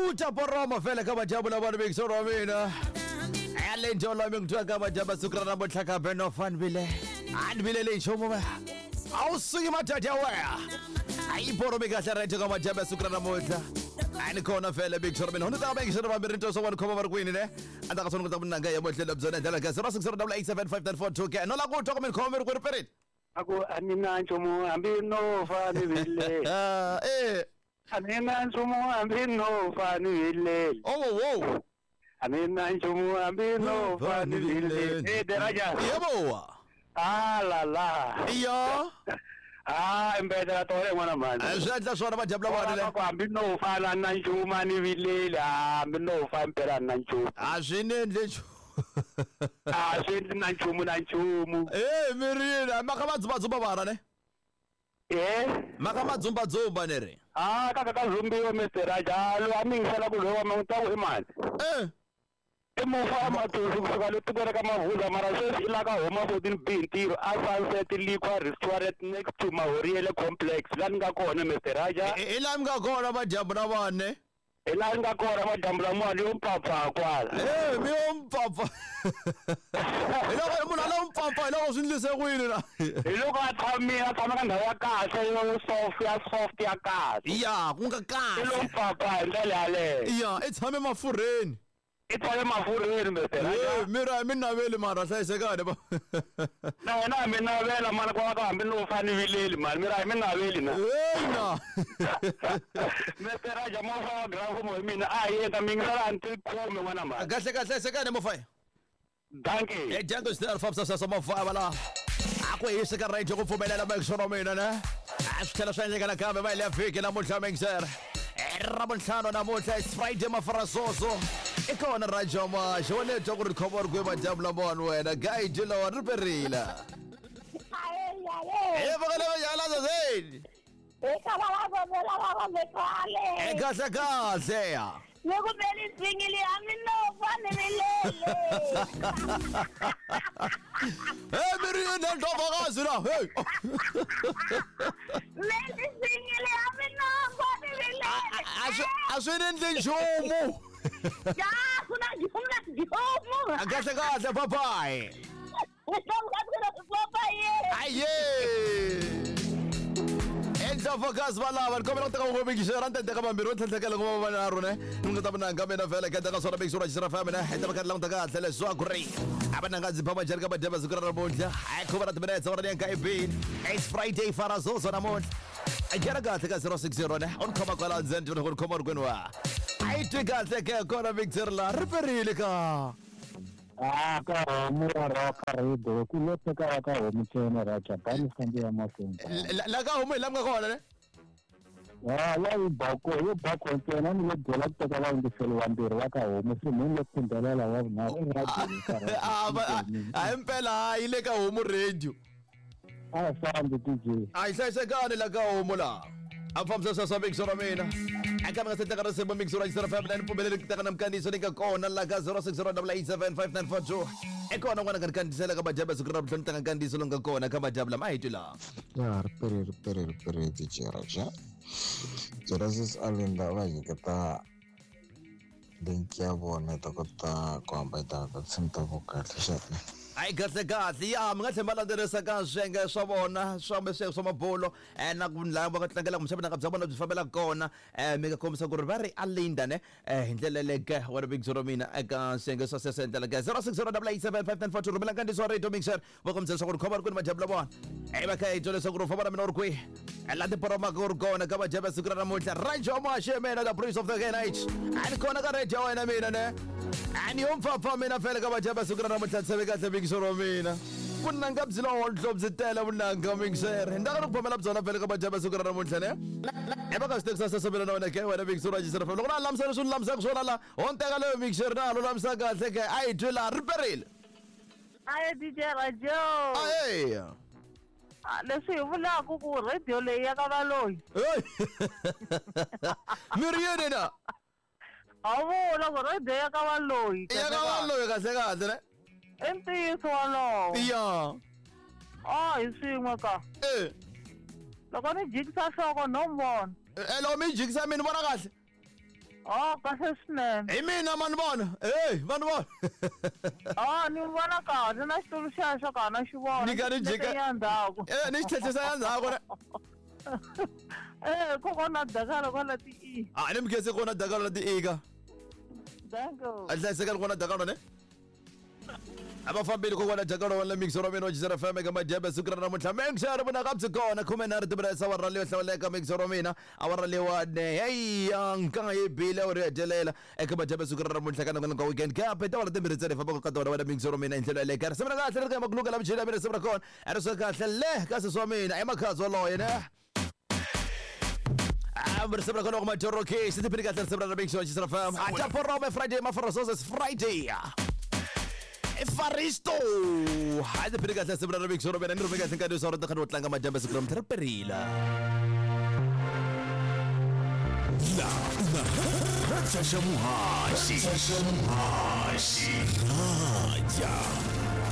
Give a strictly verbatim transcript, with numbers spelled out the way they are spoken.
Uta poroma fela ka madyambu lama ni mixo wa mina. Ale njolo mi ngitwa ka madyambu siku ra namuntlha kambe no fun vile. A ni vileli nchumu va. A wu suki madada ya wena. A yi poromi kahle right ka madyambu siku ra namuntlha. A ni kona fela mixo wa mina. Ni ta mixo wa vambirhi nto swa khoma va ri kwini ne. A ta ka sona ku ta munanga ya mohlelo byona ndlela ka zero six zero eight seven five nine four two ke. No la ku twa ku mi khoma mi ri kwini perini. Aku a ni na nchumu hambi no fa ni vileli. Ah eh. A ni na nchumu hambi no fa ni vileli. Oh wow. A ni na nchumu hambi no fa ni vileli. Eh daraja. Yebo. Ah la la. Iyo. Ah imbedela tole n'wana mhani. Swi endla swona madyambu lama le. Ku hambi no fa na na nchumu a ni vileli hambi no fa impela na nchumu. A swi ni endle nchumu. A swi endli na nchumu na nchumu. Eh mirini maka madzumbadzumba vana ne. Eh maka madzumbadzumba ne ri. Ah kaka ka zumbiwa Mister Raja lo a mi ngisela ku lowa ma ta ku i mani. Eh I mufa matuzu kusuka le tikweni ka Mavuza mara sweswi i la ka homa fourteen B ntirho a Sunset Liquor Restaurant next to Mahoriele Complex la ni nga kona Mister Raja. I la mi nga kona madyambu na vane. Hi laha ni nga kona madyambu lamawani yo mpfapfa kwala. Eh mi yo mpfapfa. Hi loko munhu a lo mpfapfa hi loko swi endlise ku yini na. Hi loko a tshamile a tshama ka ndhawu ya kahle yo soft ya soft ya kahle. Ya ku nga kahle. I lo mpfapfa hi ndlela yaleyo. Ya i tshame mafurheni. I tshame mafurheni Mister Raja. Eh mira mi naveli mara hlayisekani ba. Na wena mi navela mara kwala ka hambi no fa ni vileli mani mira mi naveli na. Eh na. Mister Raja mo fa graph mo mina a yi ta mi ngisela until khume n'wana mani. Kahle kahle hlayisekani mo fa. Dankie. Eh Django Star Fabsa sa mo fa bala. A ku hisa ka radio ku pfumelela mixo wa mina ne. A swi tlhela swi endleka nakambe va ile vhiki namuntlha mixer. Ramuntlhano namuntlha it's Friday mafarasoso. I kona Raja Masha wa le twa ku ri khoma ri kwihi madyambu lamawani wena guide lowa ri perile. Eh vokele va yala zazeni. Eh kahle kahle ya. Loko beli singili hambi no fa ni vilele. Eh miri na ndlovakazi la hey. Beli singili hambi no fa ni vilele. A swi endli nchumu. Ya ku na nchumu na nchumu. Kahle kahle bye bye. Aye. Endlovakazi valava ni kombela ku teka vungomekixera ni teka vambirhi wo tlhentlhekela ku va vanharhu ne ni nga ta vunanga mina vhele ka teka swona mixo ra xisira fa mina hi ta va ka languta kahle leswaku ri a va nanga ndzi phama njhani ka madyambu siku ra namuntlha a khuva na timinetse wona ni ya nka ibini it's Friday farazozo namuntlha a nghena kahle ka zero six zero ne u ni khoma kwala ndzeni ni ku ni khoma ri kwini wa a yi twi kahle ke kona mixer la ri perile ka. Ah ka homu ya roka radio ku lo teka ka homu ntsena Raja bani fambi ya mahlweni. La ka homu hi la mi nga kona ne. Ah la yi bako yo bako ntsena ni le byela ku teka vayingiseli vambirhi va ka homu se ni le phindhelela wa vunharhu radio. Ah a hi mpela yi le ka homu radio. A fambi D J. A yi hlayisekani la ka homu la. A fambisa sweswo mixo ra mina. Aka mi nga se teka risimu mixo ra xisira fa mina ni pfumeleli ku teka na minkandziyiso ni nga kona la ka zero six zero eight seven five nine four two. I kona n'wana nga ni kandziyisela ka madyambu siku ra namuntlha ni teka nkandziyiso lowu nga kona ka madyambu lama a hi twi laha. Ya ri pere ri pere ri pere D J Raja. Genesis Alinda va nyiketa link ya vona ta kota ku hambeta ta tinsimu ta vo kahle xana. Hayi kahle kahle ya mi nga tlhela ma landzelerisa ka swiyenge swa vona swa swiyenge swa mabulo eh na ku lava va tlangela kumbexana vunanga bya vona byi fambela kona eh mi nga kombisa ku ri va ri Alinda ne eh hi ndlela leke wa ri big zero mina eka swiyenge swa sweswo hi ndlela ke zero six zero eight seven five nine four two rhumela nkandziyiso wa radio mixer va kombisa leswaku ri khoma ri kwini madyambu la vona eh va kha hi twa leswaku ri famba na mina u ri kwihi la tiporomaka u ri kona ka madyambu siku ra namuntlha Raja Masha mina the prince of the night a ni kona ka radio wena mina ne a ni yo mpfapfa mina fele ka madyambu siku ra namuntlha tsheve kahle mixer wa mina vunanga byi lo hodlo byi tele vunanga mixer hi ndaka ri ku phomela byona fele ka madyambu siku ra namuntlha ne e va ka swi tekisa sweswo mina na wena ke wena mixer wa xisira loko na lamisela leswi ni lamisaka swona la ho ni teka leyo mixer na lulamisaka kahle ke a yi twi laha ri perile. Aye D J Rajo. Aye. Leswi hi vulaka ku radio leyi ya ka valoyi. Mi ri yini na? A vula ku radio ya ka valoyi. Ya ka valoyi kahle kahle ne? I ntiyiso wolowo. Ya. Ah hi swin'we ka. Eh. Loko ni jikisa nhloko no vona. Eh loko mi jikisa mi ni vona kahle. Oh, kahle swinene. Hi mina mani vona. Hey, vanhu vona. Oh, ni vona kahle na xitulu xexo ka na xi vona. Ni ka ni jika ya ndzhaku. Eh, ni xi tlhetlhisa ya ndzhaku ne. Eh, kokwana dakalo kwala ti i. Ah, ni mkhense kona dakalo la ti i ka. Danko. A hlayiseka kona dakalo ne. A va fambile kokwana dakalo wa la mixer wa mina wa Jizera F M eka madyambe siku ra namuntlha mixer vona ka byi kona khume nharhu timinete awara leyo hlawuleka mixer wa mina awara leyiwani heyi nkanga yi bile awara yo hetelela eka madyambe siku ra namuntlha ka nongonoko wa weekend kambe tiawara timbirhi ntsena hi fambaka ka tona wena mixer wa mina hi ndlela yaleyo risimu ra kahle ri ka makuluka la michini ya mina risimu ra kona a ri swa kahle le ka sesi wa mina i makhazi waloye ne. Risimu ra kona wa Majoro K si tiphini kahle risimu ra mixer wa Jizera F M a ta porome Friday maforosos Friday Faristo. Hayi tiphini kahle risimu ra mixer wa mina ni rhume kahle nkarhi wa rona wo tlanga madyambe siku ra namuntlha ri perile. La Xa muhaxi. Xa muhaxi.